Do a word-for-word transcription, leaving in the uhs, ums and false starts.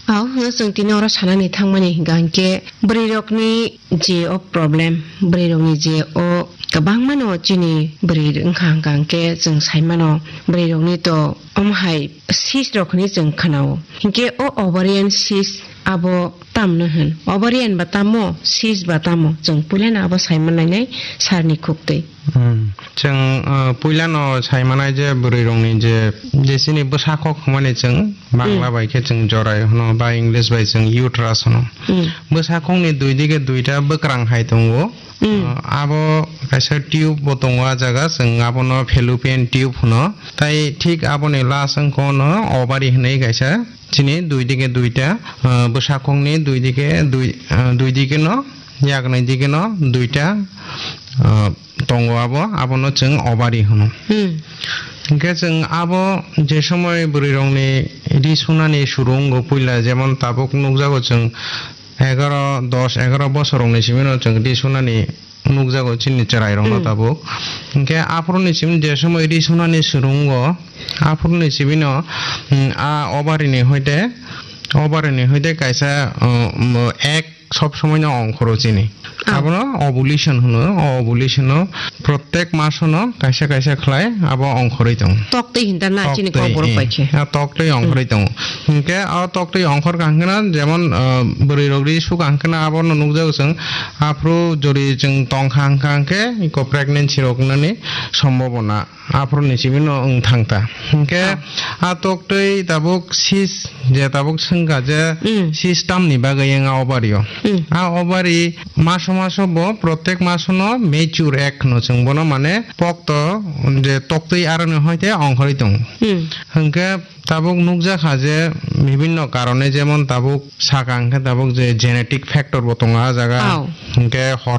Au, hwnkhe chwng tini oro sanani thangmani hwnkha hwnkhe bwrwirokni je o problem, bwrwirokni je o kwbangmano chini bwrwi wngkha hwnkha hwnkhe chwng saimano bwrwirokni to omo hai cyst rok hwnwi chwng khwnao. Hinkhe o ovarian cyst abo tamno hwn? Ovarian ba tamo, cyst ba tamo? Chwng puilano abo saimanlainai sarni khuktwi. Hmm. Chwng, uh, puilano saimanai je bwrwirokni je, je chini bwsakhok hwnmani chwng Bangla Hmm. bai khe chwng jorai hwno ba English bai chwng uterus hwno. Hmm. Bwsakhokni dui dige duita bwkrang hai tongo. Hmm. Uh, abo kaisa tube bo tongo ah jaga, chwng abono fallopian tube hwno. Tai thik aboni last wngkha ono ovary hwnwi kaisa. Chini dui dige duita, ah, bwsakhokni dui dige dui, ah, dui dige no, yakni dige no duita, ah, tongo abo, abono chwng ovary hwno. Hmm. Hinkhe chwng abo je somoi bwrwirokni ri sunani suru wngo puila, jemon tabuk nukjago chwng egaro, dos, egaro bosorokni simino chwng ri sunani nukjago chini chwrairokno Hmm. tabuk. Hinkhe aphuruni simi je somoi ri sunani suru wngo, aphuruni simino, hmm, a ovary ni hoite, ovary ni hoite kaisa, uh, um, egg sob somoi no ongkhoro chini. Oh. Abono ovulation hwno, o ovulation no protek masono kaisa kaisa khlai abo ongkhorwi tongo. Toktwi hinta na chini Toktwi, kokborok eh, bai khe. A toktwi Hmm. ongkhorwi tongo. Hinkhe o toktwi ongkhor kha hwnkhe na jemon, uh, bwrwirok ri su kha hwnkhe na abono nukjago chwng. Aphuru jori chwng tong kha hwnkha hwnkhe iko pregnancy rok wngnani sombobona aphuruni simi no wng thang ta. Hinkhe Ah. a toktwi tabuk cyst je tabuk swngkha je Hmm. cyst tamni bagwi wng a ovary o. Hmm. A ovary maso maso bo protek maso no mature egg hwno chwng bono mane pokto je toktwi aroni hoite ongkhorwi tongo. Hmm. Hinkhe tabuk nukjakha je bibinno karone jemon tabuk saka hwnkhe tabuk je genetic factor bo tongo ah jaga. Oh. Hinkhe hor